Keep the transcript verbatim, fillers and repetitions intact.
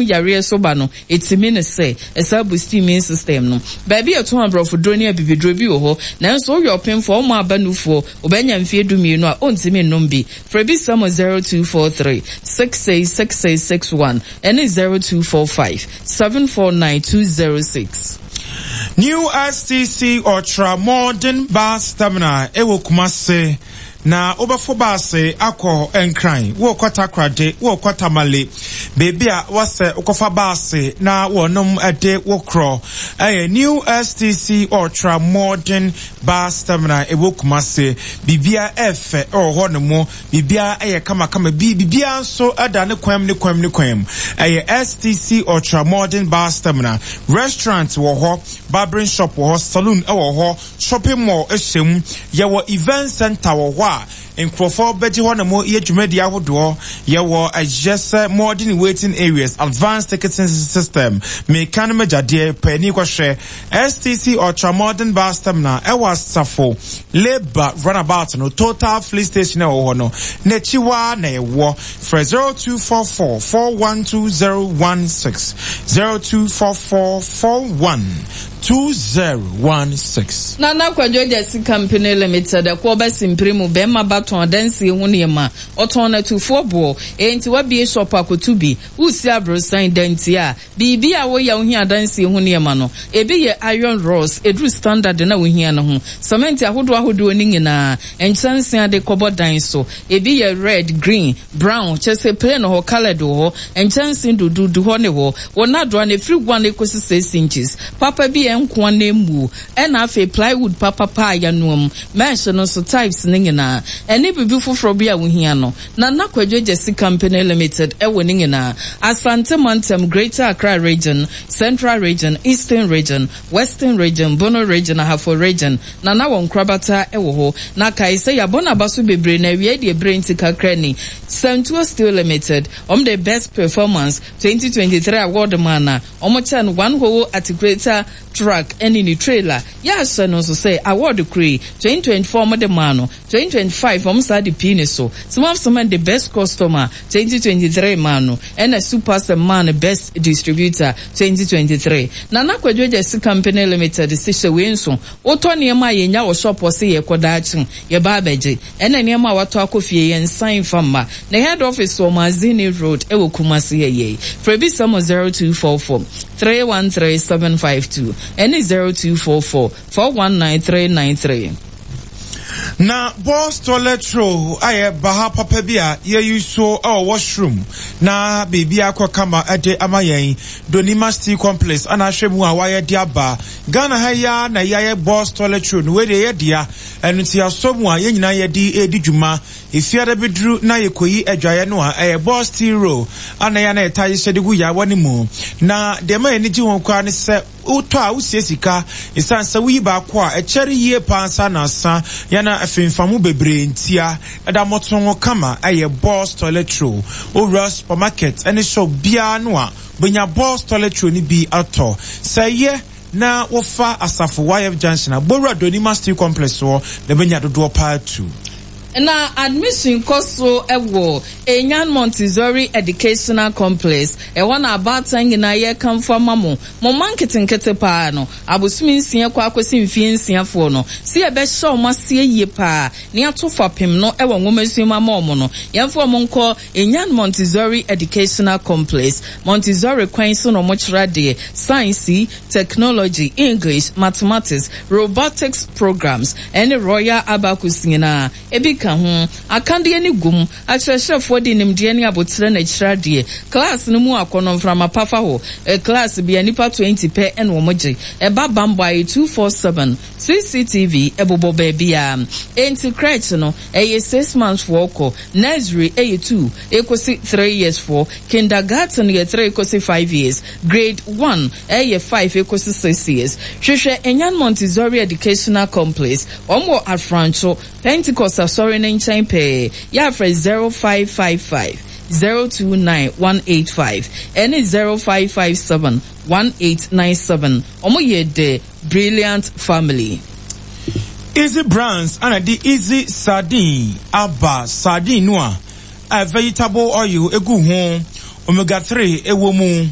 Yareɛ so ba no, ɛtumi ne sɛ ɛsan boost immune system no. Baabi a ɛtɔn aborɔfoduro ne abibiduro bi wɔ hɔ, nanso woyɛ ɔpemfoɔ, woma aba nufoɔ, wobɛnya mfeɛ dumienu a, ɔntumi nnom bi. Frɛ bi sa mu zero two four three six six six six six one ɛne zero two four five seven four nine two zero six. New S T C Ultra Modern Bus Terminal ɛwɔ Kumase na wobɛfo baase akɔ Nkran, wokɔ Takoradi, wokɔ Tamale, beebi a wɔsɛ wokɔfa baase na wɔnom de wo korɔ ɛyɛ New S T C Ultra Modern Bus Terminal ɛwɔ Kumase. Biribia ɛfɛ ɛwɔ hɔ no mu, biribia ɛyɛ kamakama bi, biribia nso ɛda ne kwan ne kwan ne kwan mu. Ɛyɛ S T C Ultra Modern Bus Terminal. Restaurant wɔ hɔ, barbering shop wɔ hɔ, saloon ɛwɔ hɔ, shopping mall ɛhyɛ mu. Yɛwɔ event center wɔ hɔ a nkurɔfoɔ bɛgye hɔ nom yɛ dwumadi ahodoɔ. Yɛwɔ ɛyɛ sɛ modern waiting areas, advanced ticketing system. Meka no magyadeɛ paani kɔhwɛ S T C Ultra Modern Bus Terminal ɛwɔ Asafo Labour runabout no, Total filling station ɛwɔ hɔ no n'akyi waa na ɛwɔ. Frɛ zero two four four four one two zero one six, zero two four four four one two zero one six. Nana Kwadwo Gyasi Company Limited ɛkɔ bɛsi mpere mu bɛrima ba tɔn adansie ho nneɛma, ɔtɔn n'atufoɔ boɔ. Enti wabie shop akoto bi wusi aborosan danti a biribi a woyɛ wohia adansie ho nneɛma no, ebi yɛ iron rods eduru standard na wohia no ho, cement ahodoɔ ahodoɔ ne nyinaa, nkyɛnsee ade kɔbɔ dan so, ebi yɛ red, green, brown, kyɛ sɛ plain hɔ, coloured wɔ hɔ, nkyɛnsee dududu hɔ ne hɔ. Wɔn adoa no efiri one ekosi six inches papa bi yɛ nkoa na emu, ɛna afei plywood papapa a yɛanoa mesh no nso types ne nyinaa, ɛne biribi foforɔ bi a wohia no. Nana Kwadwo Gyasi Company Limited ɛwɔ ne nyinaa. Asante Mantam, Greater Accra Region, Central Region, Eastern Region, Western Region, Bono Region, Ahafo Region, Nana wɔ nkorabata ɛwɔ hɔ. Na kae sɛ yɛabɔ n'aba so bebree na awie deɛ ebere nti kakra ni. Santuo Steel Limited, ɔmo de Best Performance twenty twenty-three award maa na ɔmo kyɛ no one whole articulator truck ɛne ne trailer. Yɛahyɛ no nso sɛ award kure twenty twenty-four ɔmo de maa no, twenty twenty-five ɔmo saa de pii ne so. Smart Cement de Best Customer twenty twenty-three maa no, ɛna Super maa no Best Distributor twenty twenty-three. Nana Kwadwo Gyasi Company Limited si hyɛ wei nso, wotɔ nneɛma a yɛnya wɔ shop hɔ sɛ yɛkɔ daakye yɛba abɛgye, ɛna nneɛma a watɔ akɔ fie yɛn nsan fa mma. Na head office wɔ Mazini Road ɛwɔ Kumasi yɛ yɛ. Frɛ bi sɛm zero two four four three one three seven five two ɛne zero two four four four one nine three nine three. Na Boss toilet roll ayɛ baha papa bi a yɛyi so ɛwɔ washroom na biribi akɔ kama ɛde ama yɛn. Donima Steel Complex ana ahwɛ mu a wayɛ de aba Ghana ha yi ara na yɛayɛ Boss toilet roll no. Wei deɛ yɛ dea, ɛno nti asɔ mu a yɛn nyinaa yɛde edi dwuma. Efiada bi duru na yɛkɔyi adwaeɛ no a, ɛyɛ Boss steel roll ana yɛ ana yɛta hyehyɛ de gu yawa no mu. Na deɛ ma yɛn ani gye ho koraa ne sɛ wotɔ a wosie sika, ɛsiane sɛ woyi baako a ɛkyɛre yie paa nsa na asa yɛna afimfamu bebree ntia ɛda mmɔto kama. Ɛyɛ Boss toilet roll. Owura supermarket ɛne shop biara no a bɛnya Boss toilet roll no bi atɔ. Sɛ yɛ na wofa Asafo Y F Junction a, Bowura Donima Steel Complex hɔ na bɛnya dodoɔ paa tu. Na admission kɔ so wɔ Enyan Montessori Educational Complex. Ɛhɔ na abaatan nyinaa yɛkamfo ama mo mo mma nketenkete paa no, abosomi nsia kɔ akɔsi mfie nsiafoɔ no, si yɛbɛhyɛ wɔn aseɛ yie paa ne ato fapem no wɔ nwoma mu ama wɔn no, yɛmfa wɔn nkɔ Enyan Montessori Educational Complex. Montessori kwan so na wɔn kyerɛ adeɛ: science, technology, English, mathematics, robotics programs ɛne royal abacus nyinaa ebi ka ho. Akadeɛ ne gum akyerɛkyerɛfoɔ de nimdeɛ ne abotire na kyerɛ adeɛ. Class no mu akɔnɔ mframa pafa hɔ. ɛ class bia nipa twenty pɛ ɛna wɔn gye. Ɛba bambɔ ayɛ two four seven, C C T V ɛbobɔ baabi a. Enti crèche no ɛyɛ six months foɔ kɔ, nursery ɛyɛ two ekosi three years foɔ, kindergarten yɛ three ekosi five years, grade one ɛyɛ five ekosi six years. Hwehwɛ Enyan Montessori Educational Complex. Wɔn wɔ Afrancho Pentecost asɔre ne nkyɛn pɛɛ. Yɛafrɛ zero five five five zero two nine one eight five ɛne zero five five seven one eight nine seven. Wɔn yɛ The Brilliant Family. Easy Brands ana de Easy Sardine aba. Sardine no a a vegetable oil egu ho, omega three ɛwɔ mu.